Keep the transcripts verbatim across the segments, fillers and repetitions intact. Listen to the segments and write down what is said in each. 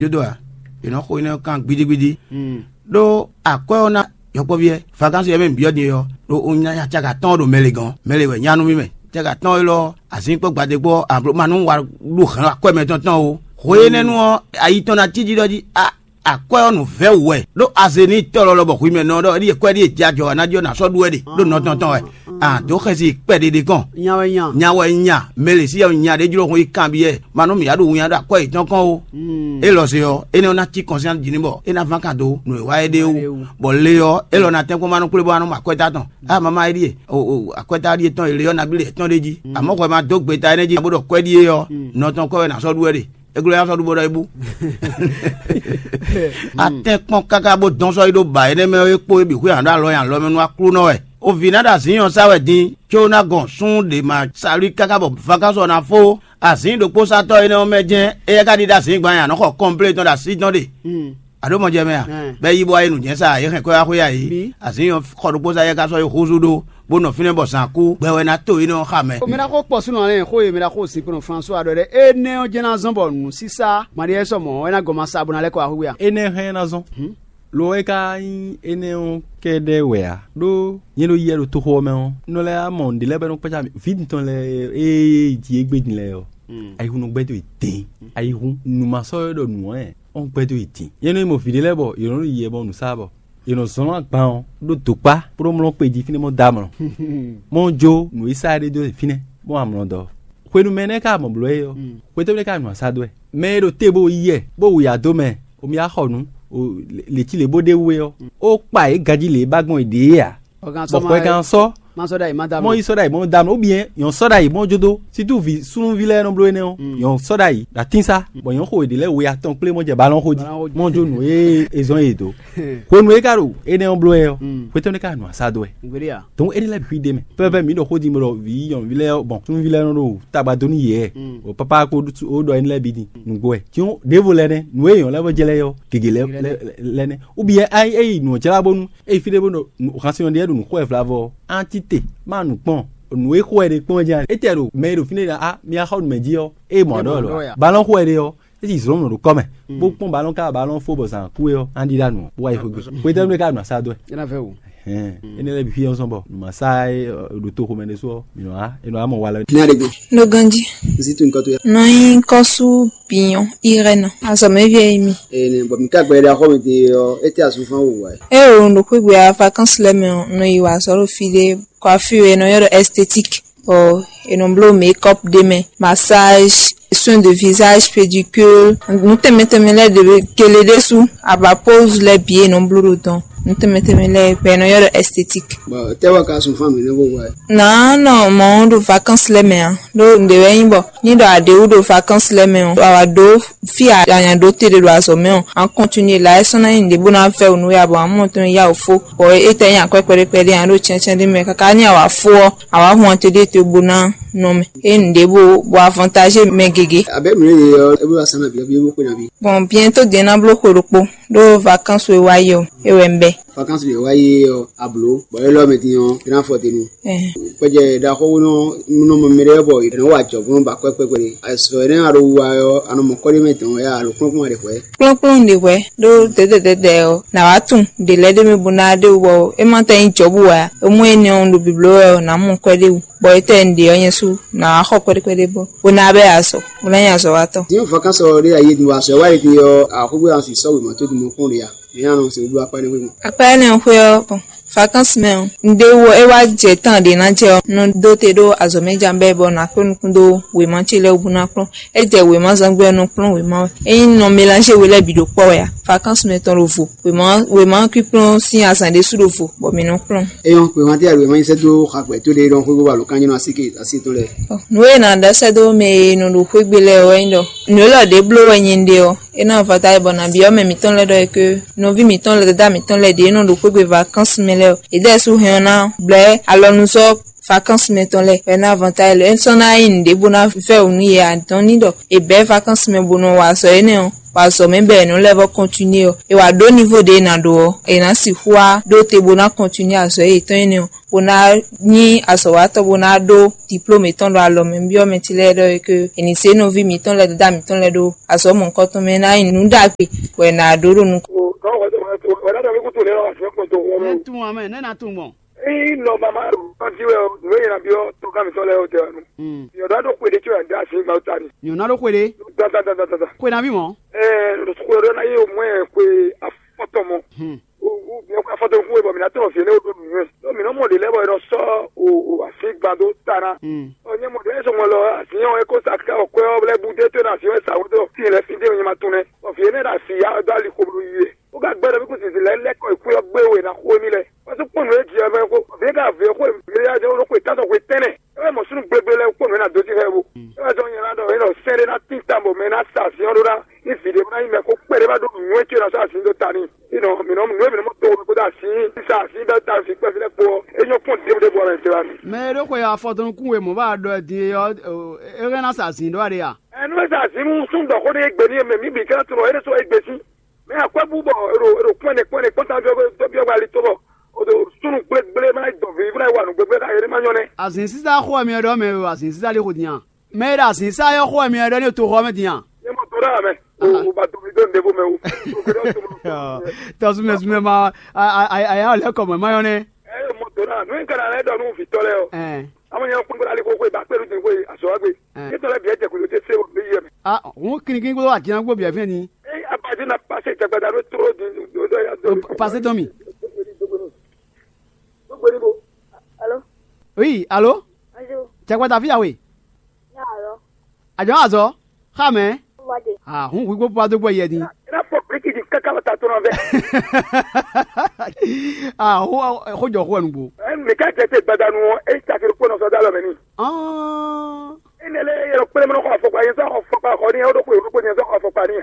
Jódó ǎ. È nɔ xo énɛ́ kan gbídígbídí. Ɖó akwɛ́ ɔ́ ná yɔkpɔ́ví ɛ. Vakansi ɔ́ mɛ byɔ́ din ɔ́, ɖo un nya caga tɔn ɖo mɛ lě gɔ́n. Mɛ lě wɛ nya nú mì mɛ. Caga tɔn élɔ́, azǐn kpó gbadé kpó ablomanu wa ɖu hɛn akwɛ́ mɛtɔn tɔn o. Hwe énɛ́ nu ɔ́, ayi tɔn ná cí jí ɖɔ jí a akwɛ́ ɔ́ nǔ vɛ́ wú wɛ. Ɖó azě ní tɔ́ lɔlɔ bɔ hwi mɛ nɔ ɖɔ éɖíe kwɛ́ ɖíe jɛ ajɔ wa ná jí ɔ́ ná sɔ́ ɖu wɛ ɖe ɖó nɔ tɔn tɔn wɛ. A dǒ xɛsi kpɛɖeɖe kɔn. Nya wɛ nya. Nya wɛ nya. Mɛ lě sí nya ɖé jló hun yi kanbyɔ́ ɛ. Ma nú mǐ ya ɖo winnyá ɖo akwɛ́ yětɔn kɔn o. Élɔ́ se ɔ́, énɛ́ ɔ́ ná cí kɔnsyɛ́nsi jí ní bɔ é ná ván kan dó nǔ e wa é ɖe wú. Bɔ le ɔ́, élɔ́ ná tɛ́nkpɔ́n ma nɔ kplé bɔ wá nɔ mɔ akwɛ́ta tɔn. A mama é ɖíe, akwɛ́ta ɖíe tɔn e le ɔ́ nabí lě tɔn ɖé jí. Amɔ̌ hwɛ ma dó gbeta énɛ́ jí bó ɖɔ kwɛ́ ɖíe ɔ́, nɔ tɔn kɔ́ wɛ ná sɔ́ ɖu wɛ ɖe. É glɔ́ nya sɔ́ ɖu bó ɖɔ é bú. Atɛ́n kpɔ́n káká bó dɔn sɔ́ yi ɖó ba énɛ́ mɛ é kpó é bǐ xwé hǎn ɖó alɔ nyi alɔ mɛ nú Aklúnɔ wɛ. O vǐ ná ɖo azǐn ɔ́ sá wɛ din, có ná gɔn súnnu ɖě ma salí káká bɔ vakánsɔ ná fó. Azǐn ɖokpósatɔ́ énɛ́ ɔ́ mɛ jɛ́n éyɛ́ ka ɖi ɖó azǐn gban nyi a nɔ̌ xɔ kɔnplé tɔn ɖo así tɔn ɖe. A ɖǒ mɔ jɛ mɛ a? Bɛ́ yí bó wá yi nǔ jɛ́n sa yě hɛn kwɛ́ wá xwé a yǐ. Azǐn ɔ́ xɔ ɖokpósa éyɛ́ ka sɔ́ yi húzú ɖó, bó nɔ fínɛ́ bɔ zǎn kú, gbɛ wɛ ná to énɛ́ ɔ́ xa mɛ. Mɛ ná xo kpɔ́ súnɔ lɛ́ɛ xó e mɛ ná xo zinkpo nɔ François ɖɔ ɖɛ énɛ́ ɔ́ jɛ́n ná zɔ́n bɔ nǔ sísá Maɖiɛ sɔ mɔ̌ wɛ ná gɔn ma sa bó ná lɛ́ kɔ wá xwé a? Énɛ́ hɛn ná zɔ́n. Lo é ka nyí énɛ́ ɔ́ kɛ́ɖɛ́ wɛ ǎ, ɖó nyɛ ɖo yɛ ɖo toxo ɔ́ mɛ ɔ́, un nɔ lɛ́ wá mɔ nǔɖé lɛ́ɛ bɔ é nɔ kpácá mì. Vǐ tɔn lɛ́ɛ e jí égbé din lɛ́ɛ ɔ́, ayihun nɔ gbɛ́ dó yě dɛ̌ɛn. Ayihun nǔ ma sɔ́ é ɖɔ nǔ ɔ́ ɔ́ gbɛ́ dó yě din. Nyɛ nɔ yi mɔ vǐ ɖé lɛ́ɛ bɔ yě nɔ ɖo yɛ bɔ nǔ sá bɔ yě nɔ zɔ́n agban ɔ́ ɖó dǒkpá bó ɖó mlɔ́ kpe jí fínɛ́ mɔ dó amlɔ. Mɔ jó nǔ e sá é ɖé dó fínɛ́ bó amlɔ dɔ. Hwenu mɛ énɛ́ ka mɔ blǒ é ɔ́, xwetɔ́ ɖé ka nɔ asá dó wɛ. Mɛ e ɖo te bó yí yɛ bó wu yǎ dó mɛ, omi wá xɔ nǔ, lě cí lě bó ɖe wú é ɔ́, ó kpa yě ganjí lě e ba gbɔn yě ɖě é ǎ. Bɔ hwɛ kan sɔ́ mɔ yi sɔ́ ɖ'ayǐ mɔ dá mlɔ́, ou bien nyɔ̌ sɔ́ ɖ'ayǐ mɔ jó dó, situ vǐ súnnuví lɛ́ɛ nɔ bló énɛ́ ɔ́, nyɔ̌ sɔ́ ɖ'ayǐ ɖo atín sá, bɔ nyɔ̌ xo yě ɖě lɛ́ɛ we atɔn kplé mɔ jɛ balɔn xo jí, mɔ jó nǔ e è zɔ́n yě dó. Hwenu e é ka ɖo énɛ́ ɔ́ bló wɛ ɔ́, xwetɔ́ nú é ka nɔ asá dó wɛ. Donc énɛ́ lɛ́ɛ bǐ xwí ɖ'é mɛ. Pɛ́pɛ́ mǐ ɖɔ xó din bɔ ɖɔ vǐ nyɔ̌nuví lɛ́ɛ ɔ́, bɔn súnnuví lɛ́ɛ nɔ ɖo tagba dó nú yě wɛ, bɔ pápá kpó ó ɖɔ énɛ́ lɛ́ɛ bǐ din nǔgbó wɛ. Cyɔ́n ɖěvo lɛ́ɛ nɛ́, nǔ e nyɔ̌nu lɛ́ɛ vɔ jɛ lɛ́ɛ ɔ́, gěgé lɛ́ɛ lɛ́ɛ nɛ́. Ou bien é yi nǔ ɔ́ jlá bónú é yi fí ɖé bó ɖo hǎnsinɔ ɖé ɖo nǔ xo wɛ vlavɔ ɔ́, á cí te, má nǔ kpɔ́n, nǔ e xo wɛ ɖe kpɔ́n jí. Étɛ́ ɖo mɛ e ɖo fínɛ́ ɖɔ á mi wá xɔ nǔ mɛ jí ɔ́, é mɔ ɖɔ lɔ. Balɔ́n xo wɛ ɖe ɔ́, é sì zlɔ́n nɔ ɖo kɔ́ mɛ, bó kpɔ́n balɔ́n ká balɔ́n fó bɔ zǎn kú é ɔ́, á ɖíɖá nǔ ɔ́, bó wá yi xwé gbe. Xwetɛ́nu é ka ɖo nǔ asá dó wɛ. Hɛn, énɛ́ lɛ́ɛ bǐ xwí ɔ́ zɔ́n bɔ nǔ ma sá é ɖo toxo mɛ ɖésú ɔ́, mǐ nɔ wá, é nɔ wá mɔ wa lɛ. Ní aɖe gbe. Ɖo ganjí. Zitu nukɔn to ya. Nɔ nyi kɔ́sú biyɔn irɛnɔ. Azɔ̌mɛví e mi. Ene bɔ mi ka gbɛ ɖe axɔ mi te ɔ, ete azufan wo wa. E o ɖo xwé gbe a vacances lɛ́ɛ mɛ ɔ, nɔ yi wa azɔ̌ ɖo fí ɖé, kɔ afi e nɔ ylɔ́ ɖɔ esthétique. Ɔ, e nɔ bló make-up ɖé mɛ, massage, soin de visage, pédicure, nǔ tɛnmɛ tɛnmɛ lɛ́ɛ ɖě kele ɖésú, aba pose lɛ́ɛ bǐ e nɔ bló ɖo dɔn, nǔ tɛnmɛ tɛnmɛ lɛ́ɛ bɔ e nɔ ylɔ́ ɖɔ esthétique. Bɔ tɛ́ wɛ ka sun fún mi ní bó wɛ? Nǎ nɔ mɔ̌ ɖo vacances lɛ́ɛ mɛ ǎ, ɖó nǔɖé wɛ nyí bɔ ní ɖɔ a ɖě wú ɖo vacances lɛ́ɛ mɛ ɔ́, a wǎ ɖó fí a nya ɖó te ɖe ɖo azɔ̌ mɛ ɔ́, a continuer la é sɔ́ ná nyí nǔɖé bó ná vɛ́ wǔ nú we ǎ, bɔ a mɔ tɔn yá wǒ fó, bɔ étɛ́ nyí akwɛ́ kpɛɖé kpɛɖé ǎ ɖo cyɛ́ncyɛ́n ɖé mɛ káká ní a wǎ fó ɔ́, a wǎ hun ate ɖé te bó ná nɔ mɛ. É nǔɖé bó bɔ avantage mɛ gěgé. Abɛ mǐ lě ɔ́, é bó wá sán nabí ɔ́, bí é bó xwe nabí. Bon, bientôt din ná bló xwe ɖokpó ɖó vacances e wá yi ɔ́, é wɛ un bɛ́. Vacances e wá yi ɔ́, a blǒ, bɔ élɔ́ mɛ din ɔ́, é ná fɔ te nu. Ɛhɛn. Kpɛjɛ ɖaxó nɔ nɔ mɛ ɖé bɔ è nɔ wa jɔ bó nɔ ba kɔ́ kpɛkpɛ ɖé. Azɔ énɛ́ a ɖo wa ɔ́, a nɔ mɔ kɔ́ ɖé mɛ dɔn wɛ a ɖo kplɔ́nkplɔ́n ɖe hwɛ̌. Kplɔ́nkplɔ́n ɖe hwɛ̌ ɖó dɛ̌dɛ̌dɛ̌dɛ̌ ɔ́, nǎ wá tunwun ɖě lɛ́ɛ ɖé mɛ bó ná ɖe wú bɔ é ma tɛ́ nyí jɔ̌bu ǎ. É mɔ énɛ́ ɔ́ un ɖo bibló wɛ ɔ́, nǎ mɔ kwɛ́ ɖé wú. Bɔ étɛ́ un ɖe ɔ́ nyɛ sú nǎ wá xɔ kpɛɖé kpɛɖé bó bó ná bɛ́ azɔ̌, bó ná nyí azɔ̌watɔ́. Din vacances ɔ́ ɖé ayé din wa sɔ wá yi din ɔ́, axɔ́gbé an si sɔ́ wěma tó din mɔ kpɔ́n ɖě a? Mǐ ná nɔ se wúblú akpá énɛ́ xwé mɛ. Akpá énɛ́ xwé ɔ́, bon, vacances mɛ ɔ́, un ɖé wú ɔ́, é wá jɛ tán ɖě ná jɛ ɔ́, un nɔ dó te ɖó azɔ̌ mɛ jan bɛ́ bɔ nǎ kpé nukún dó wěma ce lɛ́ɛ wú bó ná kplɔ́n. É jɛ wěma zán gbé ɔ́, nɔ kplɔ́n wěma wɛ. Ényí un nɔ mélange we lɛ́ɛ bǐ ɖo kpɔ́ wɛ a? Vacances mɛ tɔn ɖo vo. Wěma wěma kpíkplɔ́n sín azǎn ɖésú ɖo vo, bɔ mǐ nɔ kplɔ́n. Eyɔn xwe hɔn tɛ wěma nyi sɛ́ dó xagbɛ tó ɖé ɖɔn xwé bó wa lǒ kan nyí nɔ así ke así tɔn lɛ́ɛ. Nǔ e nǎ ɖɔ sɛ́ dó mɛ e nɔ ɖo xwé gbe lɛ́ɛ ɔ́ wɛ nyí ɖɔ nǔ élɔ́ ɖě bló wɛ nyɛ un ɖe ɔ́, é ná vɔ ta bɔ nǎ byɔ́ mɛ mǐtɔn lɛ́ɛ ɖɔ é ké nɔví mǐtɔn lɛ́ɛ, dada mǐtɔn lɛ́ɛ ɖě nɔ ɖo xwé gbe vacances mɛ lɛ́ɛ ɔ́, yě ɖɛ́ sú hɛn ɔ́ ná blɛ́ alɔnuzɔ́ vacances mɛ tɔn lɛ́ɛ, bɔ é ná vɔ ta lɛ́ɛ. É sɔ́ ná nyí nǔɖé bó ná vɛ́ wǔ nú yě ǎ, dɔn ní ɖɔ è bɛ̌ vacances mɛ bó nɔ wa azɔ̌ énɛ́ ɔ́, wa azɔ̌ mɛ bɔ è nɔ lɛ́ vɔ continuer ɔ́, è wǎ ɖó niveau ɖě è nǎ ɖó ɔ́, è nǎ sixú wá ɖó te bó ná continuer azɔ̌ yětɔn énɛ́ ɔ́. bó ná nyí azɔ̌watɔ́ bó ná ɖó diplómu yětɔn ɖo alɔ mɛ. Un byɔ́ mɛ ce lɛ́ɛ ɖɔ é ke è nǐ zé nɔví mǐtɔn lɛ́ɛ, dada mǐtɔn lɛ́ɛ ɖó azɔ̌ mɔ̌hunkɔtɔn mɛ, é ná nyí nǔ ɖagbe bɔ è nǎ ɖó ɖo nukɔn. Nɛ́ tunwun amɛ, nɛ́ ná tunwun gbɔn. Ényí nɔ mama ɖo kɔnti wɛ ɔ́, nǔ e yě ná byɔ́ tɔgán mǐtɔn lɛ́ɛ ɔ́ tɛ wɛ nu. Yɔ̌dá ɖo xwe ɖé có wɛ dó así Mawu ta ni. Nyɔ̌ná ɖó xwe ɖé. Dandandandandan. Xwe ná bí mɔ̌. Ɛɛ, xwe ɖé ná yí omɔ́ ɛ xwe afɔtɔn mɔ. Afɔtɔn kún wɛ bɔ mǐ ná tɔ́n fǐ énɛ́ ɖó nǔnywɛ́. Ɖó mǐ nɔ mɔ ɖě lɛ́ɛ bɔ è nɔ sɔ́ o o así gban dó ta ná. Ɔ nyɛ mɔ ɖě sɔmɔ lɔ así ɔ́ é kó sa ká ɔ́ kwɛ́ ɔ́ lɛ́ɛ bú dé tó ná así ɔ́ é sa wó dó fí lɛ́ɛ fí dé nyɛ ma tunwun nɛ́. Bɔ fǐ énɛ́ ɖo así ya dó ali xo bló yi wɛ. Ó ka gbɛ́ ɖɔ mí kún zinzin lɛ́ɛ lɛ́ kɔ yi xwé ɔ́ gbé we ná xo émí lɛ́ɛ. Wá sú kpɔ́n nǔ e jí ɔ́ mɛ xó. Vǐ ka vǐ xó mǐ ya jɛ ɖo xwe tán sɔxwe tɛnɛ. É wɛ mɔ súnú gbegbe lɛ́ɛ kpɔ́n nǔ e ná dó sí xɛ bo. É wɛ sɔ́ nyɛ ná ɖɔ é nɔ sɛ́n ɖé ná tín tan bɔ mɛ ná sa azǐn ɔ́ ɖó ná ní vǐ ɖé bó ná nyí mɛ xó kpɛɖé bá ɖó nǔnywɛ́ ce ná sɔ́ azǐn dó ta n'i. Fí nɔ mǐ nɔ nǔ e mǐ nɔ mɔ to wɛ kpódó así sa así bɛ́ ta vǐ kpɛví lɛ́ɛ kpó ɔ́, é nyɔ́ kpɔ́n ɖěbǔ ɖěbǔ ɔ́ mɛ tɛ́ wá mì. Mɛ e ɖó xwe afɔtɔn nukún we mɔ̌ bá ɖɔ din é ɔ́, é hɛn ná sa azǐn ɖó aɖé a? Ɛnu e sa azǐn nú súnnu ɖɔ xó ɖé gbe ní e mɛ mǐ bǐ ká tunɔ é ɖésú é gbe sín. Mɛ akwɛ́bú bɔ è ɖo è ɖo kpɔ́n ɛnɛ kpɔ́n ɛnɛ kpɔ́n tán byɔ́ byɔ́ ali tó bɔ o ɖo súnnu gblégblé má yi dɔn vǐ bó ná yi wa nǔ gblégblé xá yě má nyɔ́ nɛ́. Azǐn sísá xó wɛ myɔ ɖɔ mɛ o, azǐn sísá lí xo din a? Mɛ e ɖo azǐn sísá yɔ xó wɛ myɔ ɖɔ ní toxɔ mɛ din a? Yé mɔ tó ɖá mɛ o o ba dɔn mí dó nǔɖé bó mɛ o. Tɔsúmɛsúmɛ ma aya lɛ́ kɔ mɔ̌ ma nyɔ́ nɛ́. Ɛ yé mɔ tó ɖá nú é ka ná lɛ́ ɖɔ nú vǐtɔ́ lɛ́ɛ ɔ́. Amɔ nyɛ kpɔ́n gbɔdɔ ali xóxó ba kpé ɖu din xó azɔ̌ wa gbe. Yé tɔ́ lɛ́ɛ bǐ jɛ kúló tɛ́ sé wɔ mí yɛ mɛ. Ah, hun kinnikin kpódó atina kpó bǐ fɛn ni. Ɛ abají na pasé jagbaja ɖó tló din ɖó ya dó. Pasé tɔn mi. Gbogbo ní bo. Alo. Oui, alo. Bonjour. Tɛ kpata fi awe. Ya alo. Àjọ azɔ. Xa mɛ. Wade. Ah, hun wi gbogbo ado gbɔ yɛ din. Ina fɔ briki di kaka bata tɔnɔ vɛ. Ah, ho ho jɔ ho nugbo. Ɛn mi ka jɛ te gbadanu ɔ, e takiri kpɔnɔ sɔ dalɔ mɛ ni. Ah. Ene lɛ yɛrɛ kpɛlɛ mɛ kɔ afɔkpa yɛ sɔ afɔkpa kɔ ni o ɖo ko yɛ ko yɛ sɔ afɔkpa ni.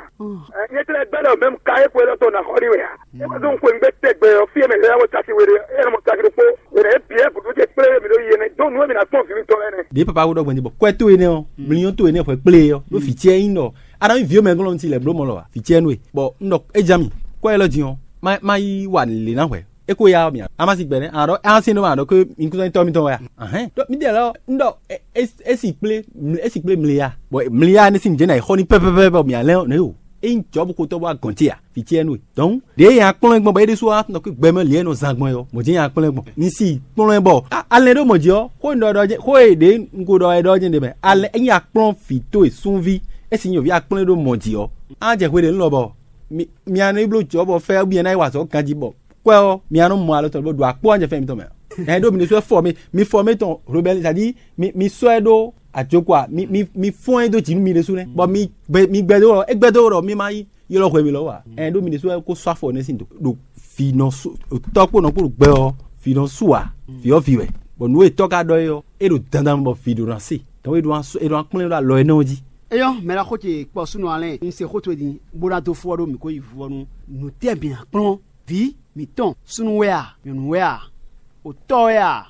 Ɛn yɛ tɛ gbɛdɔ mɛ ka e ko yɛ tɔ na kɔ ni wɛ ya. E ma dɔn ko ngbe tɛ gbɛ ɔ fi mɛ yɛ wo taki wɛ de e mɔ taki ko yɛ e bi e gudu te kpɛlɛ mi do yɛ ne do nu mi na tɔn fi mi tɔ lɛ ne. Ɖe papa wo ɖɔ gbɛn bɔ kwɛ to ene ɔ mliyɔn to ene xɔ kple ɔ ɖo fi tiɛ yin nɔ. Adam vi mɛ gɔlɔ ŋuti lɛ blo mɔ lɔ wa fi tiɛ nu e bɔ n ɖɔ e ja mi kɔ yɛ lɔ din ɔ ma yi wa le na hwɛ. E ko ya mi a ma si gbɛ ne a ɖɔ a se no ma ɖɔ ke mi kúsɔn tɔ mi tɔn wa ahɛn dɔ mi de lɔ n ɖɔ e si kple e si kple mli ya bɔ mli ya ne si mi jɛ na yi xɔ ni pɛpɛpɛ bɔ mi a lɛ ne o e yin jɔ bu ko tɔ bɔ a gɔn ti a fi tiɛ nu e. Donc ɖe ya kplɔn gbɔn bɔ e ɖe su wa nɔ ke gbɛ mɛ liɛ nɔ zan gbɔn yɔ mɔ jɛ ya kplɔn gbɔn ni si kplɔn bɔ alɛ ɖo mɔ jɛ ɔ xo n ɖɔ ɖɔ jɛ xo e ɖe n ko ɖɔ e ɖɔ jɛ ɖe mɛ alɛ e nya kplɔn fi to e sunvi e si nyɔ vi akplɔn ɖo mɔ jɛ ɔ a jɛ xwe ɖe n lɔ bɔ mi a nɔ yi bló jɔ̌ bɔ fɛ́ bú nyɛ ná yi wa azɔ̌ ganjí bɔ kwɛ ɔ́, mi a nɔ mɔ alɔ tɔn bó ɖo akpó ɔ́ nyɛ fɛ́n mitɔn mɛ. Ɛn ɖó mi ɖésú wɛ fɔ mi, mi fɔ mi tɔn hlobɛli, c'est-à-dire mi mi sɔ́ ɛ ɖó ajoko a, mi mi mi fɔ́n ɛ dó jǐ nú mi ɖésú nɛ́, bɔ mi gbɛ mi gbɛ dó wɔ é gbɛ dó wɔ ɖɔ mi ma yi ylɔ́ hwɛ mi lɔ wɔ a. Ɛn ɖó mi ɖésú wɛ kó sɔ́ afɔ nɛ́ sín do ɖo vǐ nɔ sú tɔ́ kpó nɔ kpó ɖo gbɛ ɔ́, vǐ nɔ sú a, vǐ ɔ́ vǐ wɛ, bɔ nǔ e tɔ́ ka ɖɔ é ɔ́, é ɖo dandan bɔ vǐ ɖo ná se, dɔn é ɖo ná kplɔ́n ɖo alɔ énɛ́ ɔ́ jí. Eyɔ́, mɛ ɖaxó ce kpɔ súnɔ alɛ́n, un se xó towe din, bó ná dó fó ɔ́ ɖó mǐ ko yi vuvɔnu. Nǔtɛ́ mǐ ná kplɔ́n? Vǐ mǐtɔn, súnnu wɛ a, nyɔ̌nu wɛ a, otɔ́ wɛ a,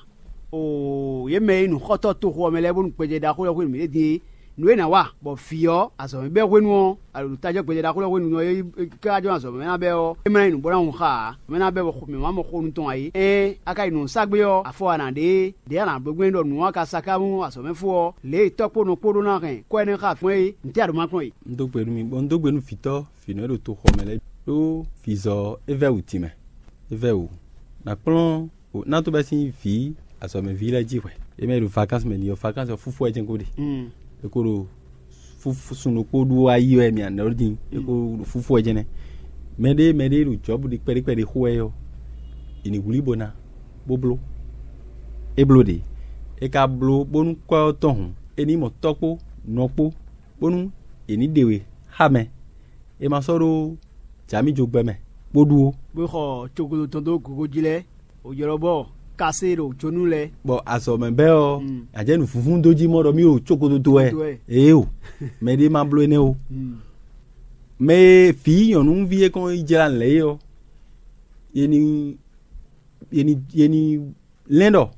oo, yě mɛ e nyí nǔxɔtɔ́ toxo ɔ́ mɛ lɛ́ɛ bónú gbɛjɛ ɖaxó lɛ́ɛ hwenu mǐ ɖe din é. Nǔ e nǎ wa, bɔ vǐ ɔ́, azɔ̌ mɛ bɛ́ hwenu ɔ́, a ɖo nǔ tajɔ́ gbɛjɛ ɖaxó lɛ́ɛ hwenu ɔ́, é ká jɔ azɔ̌ mɛ ná bɛ́ ɔ́, é má nyí nǔ bó ná hun xá ǎ, mɛ ná bɛ́ bɔ mǐ má mɔ xo nu tɔn ǎ é. Ɛ́n, a ka yi nǔ sa gbé ɔ́, afɔ wa nǎ ɖe é. Ɖě a nǎ bló gbɛn ɖɔ nǔ ɔ́ ka sa ká mú azɔ̌ mɛ fó ɔ́, lě e tɔ́ kpó nɔ kpó ɖó ná hɛn kɔ́ énɛ́ xá gbɔn é, ntɛ́ a ɖǒ ma kplɔ́n e? Un dó gbe nú mi, bɔ un dó gbe nú vǐtɔ́ vǐ nɔ e ɖo toxɔ mɛ lɛ́ɛ ɖó vǐzɔ é vɛ́ wǔ din mɛ. É vɛ́ wǔ. Nǎ kplɔ́n ná tó bɛ́ sín vǐ azɔ̌mɛví lɛ́ɛ jí hwɛ̌. É mɛ e ɖo vakansi mɛ din ɔ́, vakansi ɔ́, fúfú wɛ jɛ́n ko ɖe. É ko ɖo fúfú sun ɖokpó ɖu wá yi wɛ mì anɛ ɔ́ din. É ko ɖo fúfú wɛ jɛ́n nɛ́. Mɛɖé mɛɖé ɖo Jɔ̌bu ɖi kpɛɖé kpɛɖé xo wɛ ɔ́, è nǐ wlí bó ná, bó bló. É bló ɖě. É ka bló bónú kwɛ́ ɔ́ tɔn hǔn, é ní mɔ tɔ́ kpó nɔ kpó, bónú è ní ɖe we xá mɛ. È ma sɔ́ ɖó jǎmijɔgbɛ mɛ, bó ɖu ó. Bó xɔ cogodo tɔn dó gogo jí lɛ́ɛ, wǒ ylɔ́ bɔ kasé ɖo jónú lɛ́ɛ. Bɔ azɔ̌ mɛ bɛ́ ɔ́, a jɛ nǔ vúvún dó jí mɔ ɖɔ mì ɖo cogodo dó wɛ. Ee o, mɛɖé ma bló énɛ́ o. Mɛ e vǐ nyɔ̌nuví e kɔn yi jlá lɛ̌ é ɔ́, ye ní ye ní ye ní lɛ́n ɖɔ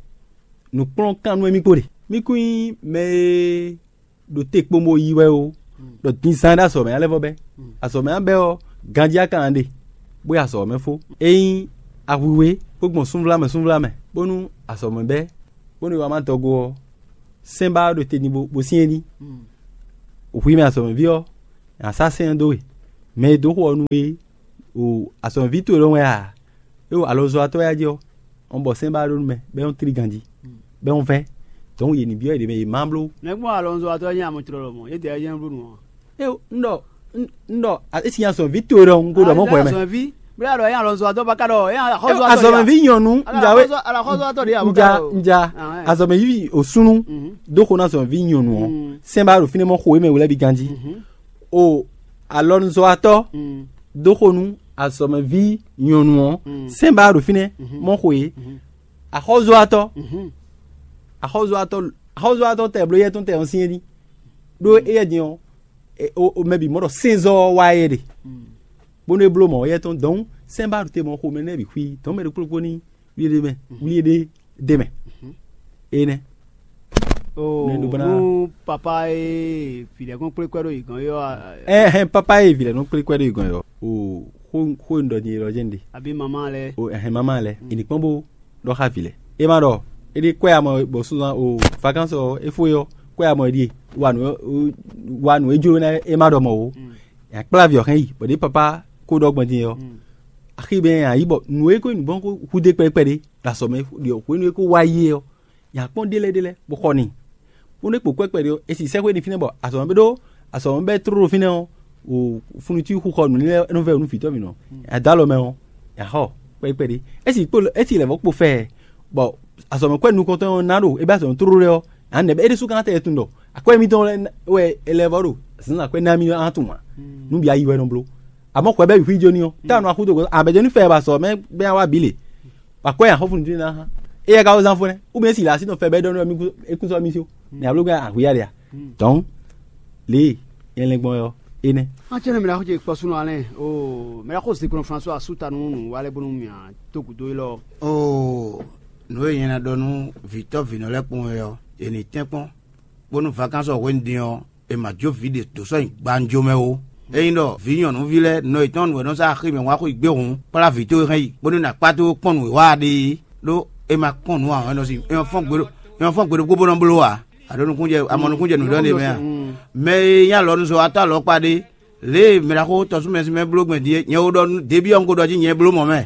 nǔkplɔ́nkan nú émí kpo ɖe. Mí kún nyí mɛ e ɖo te kpombo yi wɛ ó, ɖɔ din zán ɖó azɔ̌ mɛ ná lɛ́ vɔ bɛ́. Azɔ̌ mɛ ná bɛ́ ɔ́, ganjí a ka ná ɖe, bó yi azɔ̌ mɛ fó. Ényí ahwiwe bó gbɔn súnvlámɛ súnvlámɛ, bónú azɔ̌mɛ bɛ́, bónú è wá má dɔgo ɔ́, sɛ́n ba ɔ́ ɖo te n'i bó, bó syɛ́n ní. Hwi mɛ azɔ̌mɛví ɔ́, è nǎ sá sɛ́n ɔ́ dó we. Mɛ e dó xo ɔ́ nú we, o azɔ̌mɛví towe lɔ́ wɛ a? É o alɔzɔ́watɔ́ wɛ a jí ɔ́, ɔn bɔ sɛ́n ba ɔ́ ɖó nú mɛ, bɔ é nɔ́ tlí ganjí, bɔ é nɔ́ vɛ́. Dɔ̌n yě ní byɔ́ yě ɖě mɛ yě má bló. Nɛ̌ gbɔn alɔzɔ́watɔ́ nyí amɔtrɔlɔ mɔ̌? É dɛ ɔ́ nyí bló nǔ ɔ́. É o, un ɖɔ, un ɖɔ, a- é si nyi azɔ̌nví towe ɖɔhun kó ɖɔ mɔ̌ xwɛ mɛ. Azɔ̌nví, bó yà ɖɔ é nyí alɔzɔ́watɔ́ bá ka ɖɔ é nyí axɔ́zɔ́watɔ́ ɖé a? Azɔ̌nví nyɔ̌nu, un ja wé, Alɔxɔzɔ́- alɔxɔzɔ́watɔ́ ɖé a? Un ja, un ja, azɔ̌nví òsúnú dó xo ná azɔ̌nví nyɔ̌nu ɔ́, sɛ́n ba ɖo fínɛ́ mɔ xo é mɛ wlɛ́ bí ganjí. O alɔnuzɔ́watɔ́ dó xo nú azɔ̌mɛví nyɔ̌nu ɔ́, sɛ́n ba ɖo fínɛ́ mɔ xo é. Axɔ́zɔ́watɔ́, axɔ́zɔ́watɔ́, axɔ́zɔ́watɔ́ tɛ bló yɛ tɔn tɛ ɔ́ syɛ́n ní. Ɖó éyɛ́ din ɔ́, e- o- o- mɛ bǐ mɔ ɖɔ sɛ́nzɔ́ ɔ́ wá é ɖe, bónú é bló mɔ̌ yɛ tɔn dɔn sɛ́n ba ɖo te mɔ xomɛ nɛ́ bǐ xwí dɔn mɛ ɖokpó ɖokpó ní wlí ɖé mɛ, wlí ɖé ɖé mɛ. Énɛ́. Nú papa e vǐ lɛ́ɛ kɔn kplé kwɛ́ ɖo yě gɔ́n é ɔ́, ɛhɛn, papa e vǐ lɛ́ɛ nɔ kplé kwɛ́ ɖo yě gɔ́n é ɔ́, o xó xó e un ɖɔ din é lɔ jɛ́n ɖe. Abǐ mamá lɛ́ɛ. O ɛhɛn, mamá lɛ́ɛ, è nǐ kpɔ́n bó ɖɔ xá vǐ lɛ́ɛ. É má ɖɔ é ɖi kwɛ́ amɔ bɔ súnzan o vakansi ɔ́ é fó é ɔ́, kwɛ́ amɔ é ɖíe. Wa nǔ wa nǔ e jló ná é má ɖɔ mɔ̌ ó. È nǎ kplá vǐ ɔ́ hɛn yi, bɔ ɖěe papa ko ɖɔ gbɔn din é ɔ́, axi mɛ a yǐ bɔ nǔ e ko nyí nǔgbɔ́n ko hudé kpɛɖé kpɛɖé ɖo azɔ̌ mɛ ɖi hwenu e ko wá yi é ɔ́, nya kpɔ́n ɖélɛ́ ɖélɛ́ bó xɔ n'i. Bónú é kpo kwɛ́ kpɛɖé ɔ́, è si sɛ́xwé n'i fínɛ́ bɔ azɔ̌ mɛ ɖó azɔ̌ mɛ bɛ́ tlóló fínɛ́ ɔ́, o funutí xixɔ nǔ lɛ́ɛ nɔ vɛ́ nú vǐtɔ́ mǐnɔ. Nya dó alɔ mɛ ɔ́, nya xɔ kpɛɖé kpɛɖé. É si kpo é si lɛ̌ vɔ́ kpo fɛ, bɔ azɔ̌ mɛ kwɛ́ nukɔntɔn ɔ́ ná ɖo é bɛ́ azɔ̌ mɛ tlóló lɛ́ɛ ɔ́, nya nɛ̌ bɛ́ é ɖésú ka ná tɛ tunwun ɖɔ akwɛ́ mitɔn lɛ́ɛ wɛ è lɛ́ vɔ́ ɖo zǎnzǎn kwɛ́ ná mì ɔ́ ná tunwun ǎ. Nú bǐ ayi wɛ nɔ bló. Àmọ́ xwɛ bɛ́ wǐ xwí jó ní ɔ́, tá nɔ axú dó gɔ̌ abɛ̌jɔ ní fɛ ba sɔ mɛ bɛ́ wá bǐ le. Ba kwɛ́ axɔ́fúnú dín ná hán. Éyɛ́ ka wó zán fó nɛ́, ou bien si lǎ sí nɔ fɛ bɛ́ ɖɔ nú é kún sɔ́ mì sí ó. Nɛ abló gán ahwǐ ya ɖe a? Dɔ̌n, lě e nyɛ lɛn gbɔn wɛ ɔ́, énɛ́. Acɛ́nɛ mɛ ɖaxó ce kpɔ́ súnɔ alɛ o mɛ ɖaxó zinkplɔn François asú ta nú nǔ wa lɛ́ɛ bónú mì a dó gǔdo élɔ́. Oo, nǔ e nyɛ ná ɖɔ nú vǐtɔ́ vǐnɔ lɛ́ɛ kpɔ́n wɛ ɔ́, è nǐ tɛ́nkpɔ́n, bónú vakánsɔ hwenu din ɔ́, è ma jó vǐ ɖě dó sɔ́ nyi gbanjo mɛ ó. Ényí ɖɔ vǐ nyɔ̌nuví lɛ́ɛ nɔ yětɔn nǔ e nɔ zá axi mɛ wá xweyǐgbe hǔn, kplá vǐ towe hɛn yi, bónú è nǎ kpá towe kpɔ́n nǔ e wa a ɖe é, ɖó è ma kpɔ́n nǔ ǎ, è nɔ sin è nɔ fɔ́n gbe ɖo- è nɔ fɔ́n gbe ɖokpó bó nɔ bló ǎ. A ɖo nukúnnú jɛ a mɔ nukúnnú jɛ nǔ ɖɔ ɖe mɛ a? Mɛ e nyí alɔnuzɔ́watɔ́ alɔkpa ɖé, lě e mɛ ɖaxó tɔsúmɛsúmɛ bló gbɛn din é, nyɛ wo ɖɔ nú Debí ɔ́ un ko ɖɔ jí nyɛ bló mɔ̌ mɛ,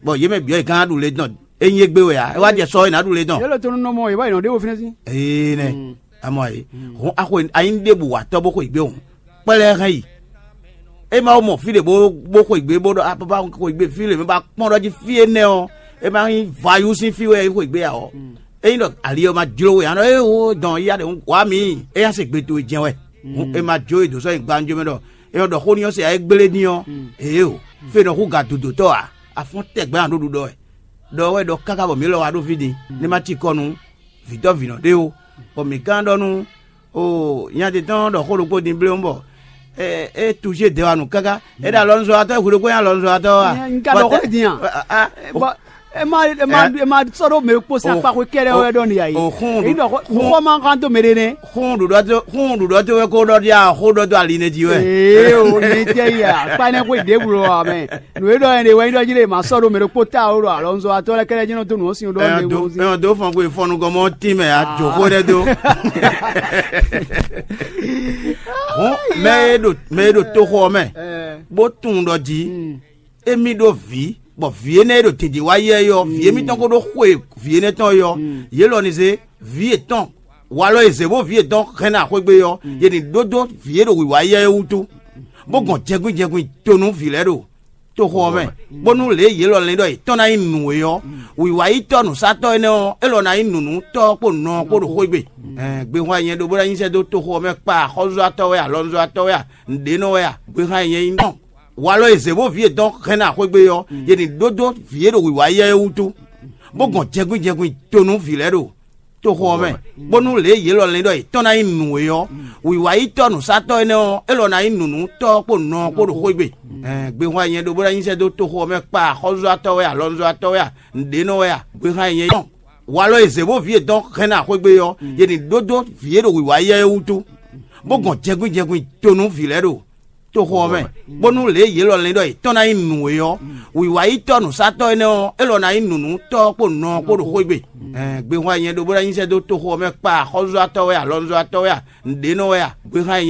bɔ yé mɛ bǐ ɔ́ è gán ɖu le tɔn. É nyí égbé wɛ ǎ, é wá jɛ sɔ é nǎ ɖu le tɔn. Yě lɔ tɔn nɔ mɔ yě wá yi nɔ ɖé wo fínɛ́ sín. Ee nɛ, amɔ e hɔn axwe anyi ɖěbǔ wa tɔ́ bó xweyǐgbe hɔn, kpɛ́ lɛ́ɛ hɛn yi. É ma wó mɔ fí ɖě bó bó xweyǐgbe bó ɖɔ apapa xweyǐgbe fí lě mɛ ba kpɔ́n ɖɔ jí fí énɛ́ ɔ́, é ma nyí vayú sín fí wɛ é xweyǐgbe ǎ ɔ́. Ényí ɖɔ ali ɔ́ ma jló we ǎ ɖɔ é wo dɔn ya ɖe wá mǐ, é nya se gbe towe jɛ́n wɛ. Hǔn è ma jó e dǒ sɔ́ nyi gbanjɔ mɛ ɖɔ è nɔ ɖɔ xó n'i ɔ́ se ǎ é gblé n'i ɔ́, ěe o, fé nɔ hú ga dodotɔ́ ǎ, a fɔ́n tɛgbɛ ǎ ɖó ɖuɖɔ wɛ. Ɖɔ wɛ ɖɔ káká bɔ mǐ lɔ wá ɖó fí din, ní ma cikɔ nú vǐtɔ́ vǐnɔ ɖé ó, bɔ mǐ ka ɖɔ nú o nya ce tɔn ɖɔ xó ɖokpó din bléwún bɔ é touché dɛwanu káká, é ɖo alɔnuzɔ́watɔ́ hwi ɖokpó nyí alɔnuzɔ́watɔ́ a? N ka ɖɔ xó din a? Bɔ e ma e ma e ma sɔ́ ɖó mɛ kpó sín akpa xwé kɛ́ɖɛ́ wɛ ɖɔ nìyá yi. Xɔ́n ɖu- Xɔ ma kan tó mɛ ɖé nɛ́. Xɔ́n ɖuɖɔ tó xɔ́n ɖuɖɔ tó wɛ kó ɖɔ ɖi a xó ɖɔ tó ali nɛ jí wɛ. Ee o ne jɛ yi akpa nɛ xwé ɖěbǔ lɔ amɛ. Nǔ e ɖɔ yẹn ɖe wɛ nyí ɖɔ jí ɖe ma sɔ́ ɖó mɛ ɖokpó ta o ɖɔ alɔnuzɔ́watɔ́ lɛ́ɛ kɛ́ɖɛ́ jí nɔ dó nǔ ɔ́ sin ɖɔ Ɛyɔn dó ɛyɔn dó fɔn kó fɔnnu gɔmɔ tínmɛ a jǒxó ɖɛ dó. Hɔn mɛ e ɖo mɛ e ɖo toxo ɔ́ mɛ bó tunwun ɖɔ jí émí ɖó vǐ, bɔ vǐ énɛ́ e ɖo dǐndín wá yɛ é ɔ́, vǐ émítɔn ko ɖó xwe vǐ énɛ́ tɔn é ɔ́, yě lɔ ní zé vǐ yětɔn walɔ e zě bó vǐ yětɔn hɛn ná xwé gbe é ɔ́, yě ní ɖó dó vǐ e ɖo wǐwá yɛ é wútu, bó gɔn jɛnkwín jɛnkwín to nú vǐ lɛ́ɛ ɖo toxo ɔ́ mɛ, bónú lě e yě lɔ lɛ́n ɖɔ yětɔn ná nyí nǔ é ɔ́, wǐwáyítɔ́ nǔsatɔ́ énɛ́ ɔ́, é lɔ ná nyí nǔnútɔ́ kpó nɔ ɔ́ kpó ɖo xwé gbe. Ɛɛ, gbehwan e nyɛ ɖó bó ná nyi sɛ́ dó toxo ɔ́ mɛ kpa axɔ́zɔ́tɔ́ wɛ a, alɔnuzɔ́watɔ́ wɛ a, nǔɖé nɔ wɛ a, gbehwan e nyɛ nyí nɔ. Walɔ e zě bó vǐ yětɔn hɛn ná xwé gbe é ɔ́, yě ní ɖó dó vǐ e ɖo wǐwá yɛ é wútu, bó gɔn jɛnkwín jɛnkwín to nú vǐ lɛ́ɛ ɖo toxo ɔ́ mɛ, bónú lě e yě lɔ lɛ́n ɖɔ yětɔn ná nyí nǔ é ɔ́, wǐwáyítɔ́ nǔsatɔ́ énɛ́ ɔ́, é lɔ ná nyí nǔnútɔ́ kpó nɔ ɔ́ kpó ɖo xwé gbe. Ɛɛ, gbehwan e nyɛ ɖó bó ná nyi sɛ́ dó toxo ɔ́ mɛ kpa axɔ́zɔ́tɔ́ wɛ, alɔnuzɔ́watɔ́ wɛ a, nǔɖé nɔ wɛ a, gbehwan e nyɛ nyí. Walɔ e zě bó vǐ yětɔn hɛn ná xwé gbe é ɔ́, yě ní ɖó dó vǐ e ɖo wǐwá yɛ é wútu, bó gɔn jɛnkwín jɛnkwín to nú vǐ lɛ́ɛ ɖo toxo ɔ́ mɛ, bónú lě yě lɔ lɛ́n ɖɔ yě tɔn ná nyí nǔ é ɔ́, wǐwá yi tɔ́ nǔsatɔ́ énɛ́ ɔ́, é lɔ ná nyí nǔnú tɔ́ ɔ́ kpó nǔ ɔ́ kpó ɖo xwé gbe. Gbehwan nyɛ ɖó bó ná nyi sɛ́ dó toxo ɔ́ mɛ kpa axɔ́zɔ́tɔ́ wɛ a, alɔnzɔ́tɔ́ wɛ a, nǔɖénɔ wɛ a, gbehwan